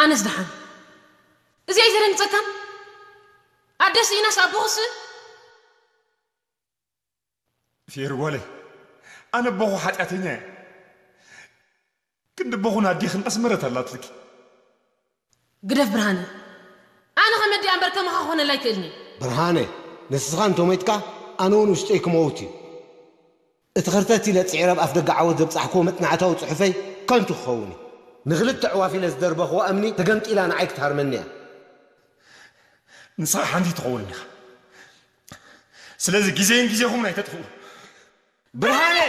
ኣነስ ደሓን። እዚ ኣይዘደንግጸካን? ኣደስ ኢናስ ኣቦኽስ? ፊየር ጓለይ፣ ኣነ ኣቦኹ ሓጢኣተኛ እየ። ክንዲ ኣቦኹ ናዲ ክንቀስ ምረት ኣላትልኪ። ግደፍ ብርሃነ። ኣነ ከመዲኣ እምበር ከማኻ ክኾነላ ኣይክእልኒ። ብርሃነ፣ ንስኻ እንተሞይትካ ኣነ እውን ውሽጠይ ክመውት እዩ። እቲ ኸርተት ኢለ ጽዒረ ኣብ ኣፍ ደገ ዓወት ዘብጻሕክዎ መጽናዕታዊ ጽሑፈይ ከንቱ ክኸውን እዩ። ንኽልተ ኣዕዋፍ ኢለ ዝደርበኽዎ እምኒ ተገምጢላ ንዓይ ክትሃርመኒ እያ። ንስኻ ሓንቲ ትኸውን ኢኻ። ስለዚ ግዜን ግዜኹም ኣይተጥፍኡ። ብርሃነ!